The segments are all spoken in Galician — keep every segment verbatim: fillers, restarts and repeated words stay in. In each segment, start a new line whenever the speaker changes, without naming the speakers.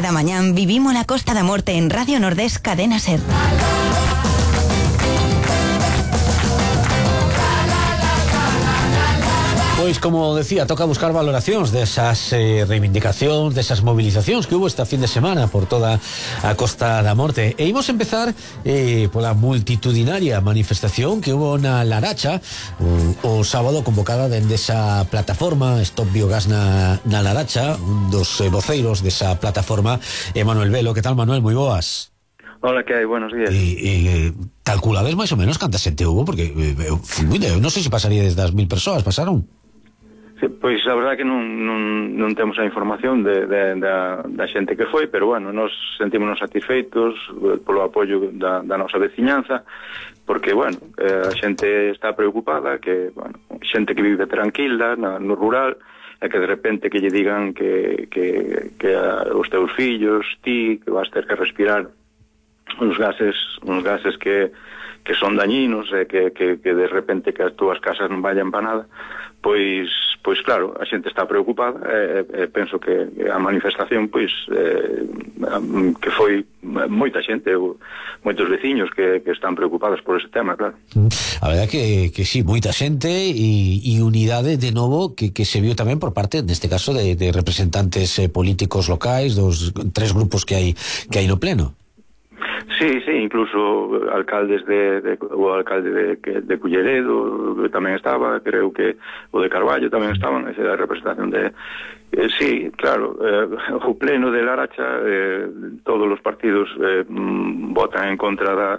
Cada mañán vivimos la Costa da Morte en Radio Nordés Cadena Ser.
Pois, como decía, toca buscar valoracións desas eh, reivindicacións, desas movilizacións que hubo esta fin de semana por toda a Costa da Morte. E imos empezar eh, pola multitudinaria manifestación que hubo na Laracha o, o sábado, convocada dende esa plataforma Stop Biogás na, na Laracha. Un dos eh, voceiros desa plataforma é Manuel Velo. Que tal, Manuel? Moi boas.
Hola, que hai? Buenos días.
E, e calculades máis ou menos canta xente hubo? Porque eh, eu non sei se pasaría desde as mil persoas, pasaron?
Sí, pois a verdade que non, non, non temos a información de, de, da, da xente que foi, pero bueno, nos sentímonos satisfeitos polo apoio da, da nosa veciñanza, porque, bueno, eh, a xente está preocupada, que, bueno, xente que vive tranquila na, no rural, e que de repente que lle digan que, que, que a, os teus fillos, ti, que vas ter que respirar uns gases, uns gases que, que son dañinos, e que, que, que de repente que as túas casas non vayan para nada, pois, pois claro, a xente está preocupada, e, e penso que a manifestación, pois, eh, que foi moita xente, moitos veciños que, que están preocupados por ese tema, claro.
A verdade que, que sí, moita xente e, e unidade de novo que, que se viu tamén por parte, neste caso, de, de representantes eh, políticos locais, dos tres grupos que hai que hai no pleno.
Sí, sí, incluso alcaldes de, de o alcalde de, de Culleredo tamén estaba, creo que o de Carballo tamén estaban, esa da representación de... Eh, sí, claro, eh, o pleno de Laracha, eh, todos os partidos eh, votan en contra da,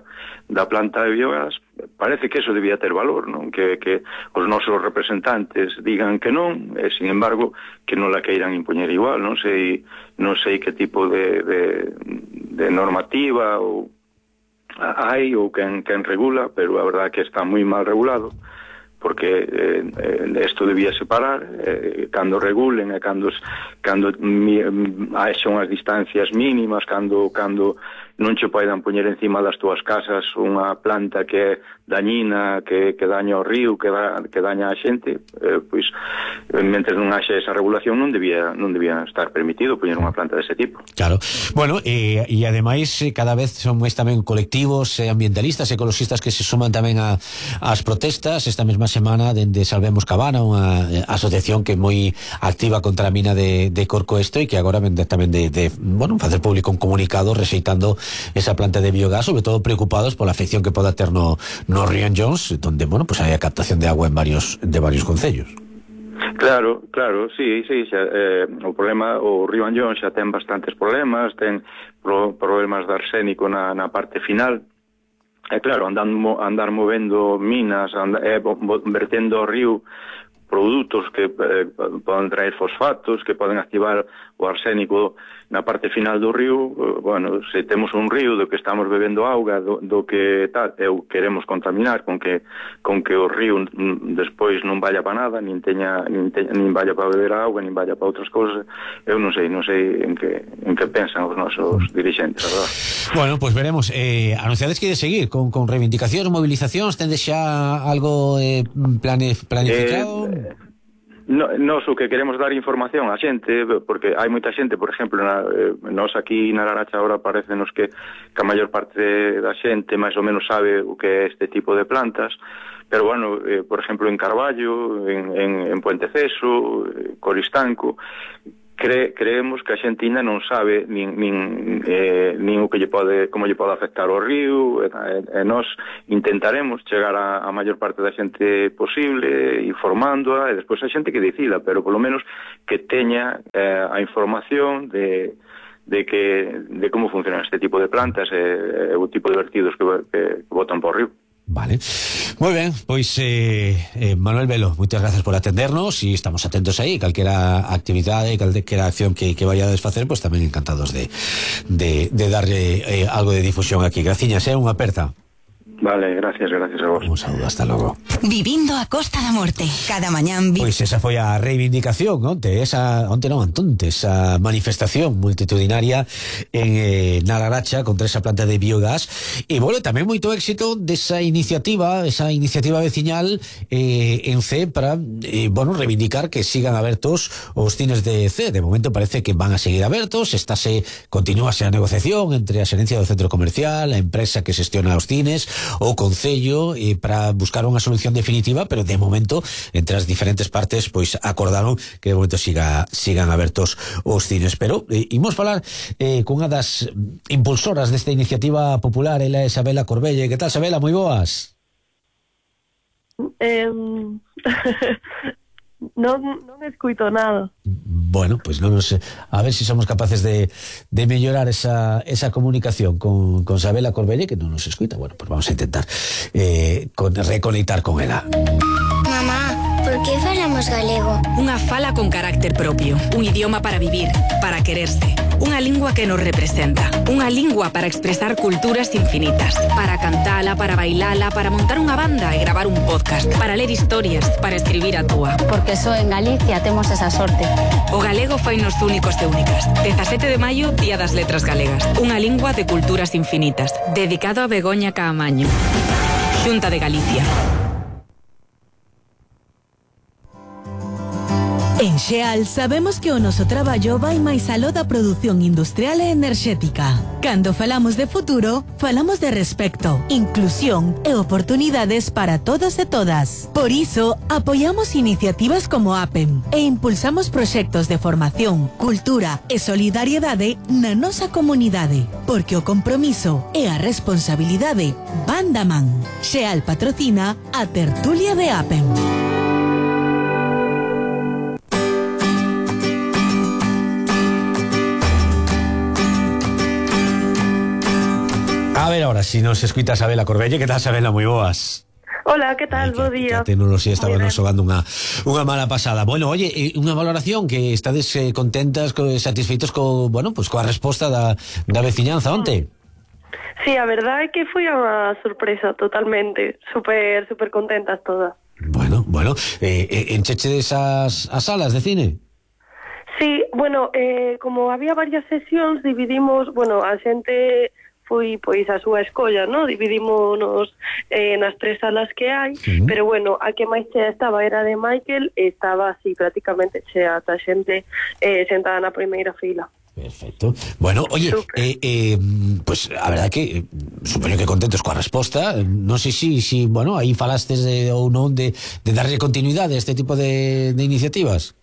da planta de biogás. Parece que eso debía ter valor, non? Que, que os nosos representantes digan que non, e, sin embargo, que non la queiran impoñer igual. Non sei, non sei que tipo de, de, de normativa ou hai ou quen, quen regula, pero a verdade que está moi mal regulado, porque eh, isto debía separar, eh, cando regulen e cando, cando mi, haxa unhas distancias mínimas, cando, cando non che poidan poñer encima das túas casas unha planta que é dañina, que, que daña o río, que, da, que daña a xente, eh, pois, mentre non haxa esa regulación non debía, non debía estar permitido poñer unha planta dese tipo.
Claro. Bueno, e, e ademais cada vez son máis tamén colectivos eh, ambientalistas, ecologistas que se suman tamén a, as protestas. Esta mesma semana dende Salvemos Cabana, unha asociación que é moi activa contra a mina de, de Corcoesto e que agora vende tamén de, de bueno, facer público un comunicado rexeitando esa planta de biogás, sobre todo preocupados pola afección que poda ter no, no río Jones, donde, bueno, pues hai a captación de agua en varios de varios concellos.
Claro, claro, sí, sí, xa, eh, o problema, o río Anllón xa ten bastantes problemas, ten pro, problemas de arsénico na, na parte final. E claro, andando, andar movendo minas, and, eh, vertendo ao río produtos que eh, poden traer fosfatos, que poden activar o arsénico na parte final do río. Bueno, se temos un río do que estamos bebendo auga, do, do que tal, eu queremos contaminar con que con que o río m, despois non vaya para nada, nin teña nin, teña, nin vaya para beber auga, nin vaya para outras cousas. Eu non sei, non sei en que en que pensan os nosos dirixentes, a verdade.
Bueno, pois pues veremos. Eh, anunciades que de seguir con con reivindicacións, movilizacións, tendes xa algo eh, plane, planificado?
Eh, No, nos o que queremos dar información á xente, porque hai moita xente, por exemplo, na, eh, nos aquí na Laracha agora parecenos que, que a maior parte da xente máis ou menos sabe o que é este tipo de plantas, pero bueno, eh, por exemplo en Carballo, en, en, en Puente Ceso, eh, Coristanco, Cre, creemos que a xente ainda non sabe nin, nin, eh, nin o que lle pode, como lle pode afectar o río, e, e nós intentaremos chegar a, a maior parte da xente posible, informándoa, e despois a xente que decida, pero polo menos que teña eh, a información de, de que de como funciona este tipo de plantas e, e o tipo de vertidos que, que, que botan por río.
Vale, moi ben, pois eh, eh, Manuel Velo, moitas gracias por atendernos e estamos atentos aí, calquera actividade, calquera acción que, que vaya a desfacer, pois tamén encantados de, de, de darle eh, algo de difusión aquí. Graciñas, é eh, unha aperta.
Vale, gracias, gracias a vos.
Un saludo, hasta logo.
Vivindo a Costa da Morte. Cada mañán... Vi...
Pois esa foi a reivindicación onte, esa, onte non, antonte, esa manifestación multitudinaria en eh, Nalaracha contra esa planta de biogás. E, bueno, tamén moito éxito desa iniciativa, esa iniciativa veciñal eh, en C para, eh, bueno, reivindicar que sigan abertos os cines de C. De momento parece que van a seguir abertos, estáse, continúase a negociación entre a xerencia do centro comercial, a empresa que xestiona os cines, o Concello, eh, para buscar unha solución definitiva, pero de momento entre as diferentes partes pois acordaron que de momento siga, sigan abertos os cines. Pero eh, imos falar eh, cunha das impulsoras desta iniciativa popular, ela é Sabela Corbelle. Que tal, Sabela? Moi boas.
Eh, non, non escuito nada.
Bueno, pues non nos, a ver si somos capaces de, de mellorar esa, esa comunicación con, con Sabela Corbelle, que non nos escuita. Bueno, pues vamos a intentar eh, con, reconectar con ela.
Mamá, por que falamos galego?
Unha fala con carácter propio, un idioma para vivir, para quererse, unha lingua que nos representa, unha lingua para expresar culturas infinitas, para cantala, para bailala, para montar unha banda e gravar un podcast, para ler historias, para escribir a túa.
Porque só en Galicia temos esa sorte.
O galego fainos únicos e únicas. dezasete de maio, Día das Letras Galegas. Unha lingua de culturas infinitas. Dedicado a Begoña Caamaño. Xunta de Galicia.
En Xeal sabemos que o noso traballo vai máis aló da produción industrial e enerxética. Cando falamos de futuro, falamos de respecto, inclusión e oportunidades para todos e todas. Por iso, apoiamos iniciativas como APEM e impulsamos proxectos de formación, cultura e solidariedade na nosa comunidade, porque o compromiso e a responsabilidade van da man. Xeal patrocina a tertulia de APEM.
A ver ahora, si nos escuita Sabela Corbelle. Que tal, Sabela? Moi boas.
Hola, que tal? Bo día.
A tecnoloxía estaba nos xogando unha, unha mala pasada. Bueno, oye, unha valoración que estades eh, contentas, co, satisfeitos co, bueno, pues coa resposta da, da veciñanza onte.
Sí, a verdade é que foi unha sorpresa totalmente. Super, super contentas todas.
Bueno, bueno, eh, eh, encheche desas as salas de cine?
Sí, bueno, eh, como había varias sesións, dividimos, bueno, a xente foi pois a súa escolla, ¿no? Dividímonos eh, nas tres salas que hai, uh-huh. Pero bueno, a que máis chea estaba era de Michael, e estaba así prácticamente chea, a xente eh, sentada na primeira fila.
Perfecto. Bueno, oye, eh, eh, pues a verdad que eh, supoño que contentos coa resposta. Non sei si, si bueno, aí falastes de, ou non de, de darlle continuidade a este tipo de, de iniciativas.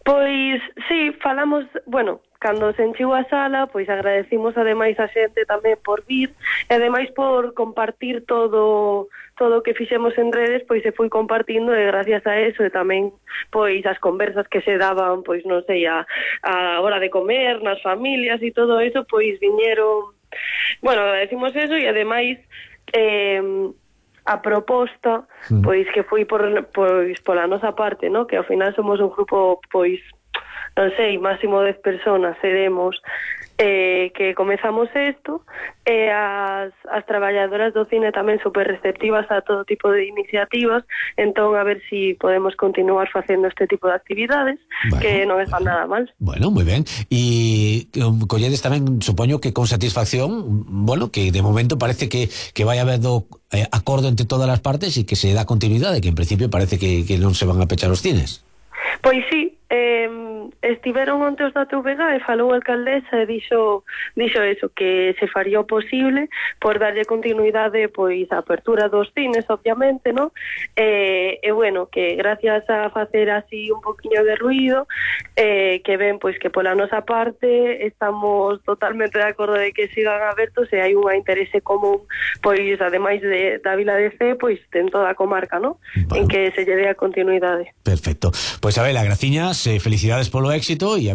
Pois, sí, falamos, bueno, cando se enchiu a sala, pois agradecimos ademais a xente tamén por vir, e ademais por compartir todo todo o que fixemos en redes, pois se foi compartindo, e gracias a eso, e tamén pois as conversas que se daban, pois non sei, a, a hora de comer, nas familias e todo eso, pois viñeron, bueno, decimos eso, e ademais eh, a proposta, pois que foi por pois pola nosa parte, ¿no? Que ao final somos un grupo, pois non sei, máximo dez personas seremos, eh, que comezamos isto, e as, as traballadoras do cine tamén super receptivas a todo tipo de iniciativas, entón a ver si podemos continuar facendo este tipo de actividades, bueno, que non están bueno, nada mal.
Bueno, moi ben. E um, colledes tamén, supoño que con satisfacción, bueno, que de momento parece que, que vai haber do eh, acordo entre todas as partes e que se dá continuidade, que en principio parece que, que non se van a pechar os cines.
Pois sí, eh, estiveron onte os da T V G e falou a alcaldesa e dixo, dixo eso, que se faría o posible por darlle continuidade pois a apertura dos cines, obviamente, ¿no? E, e bueno, que gracias a facer así un poquinho de ruido, eh, que ven pois que pola nosa parte estamos totalmente de acordo de que sigan abertos e hai unha interese común, pois ademais de, da Vila de Cee, pois en toda a comarca, ¿no? Bueno. En que se lle dé a continuidade.
Perfecto. Pois a ver, graciñas, eh, felicidades polo éxito e a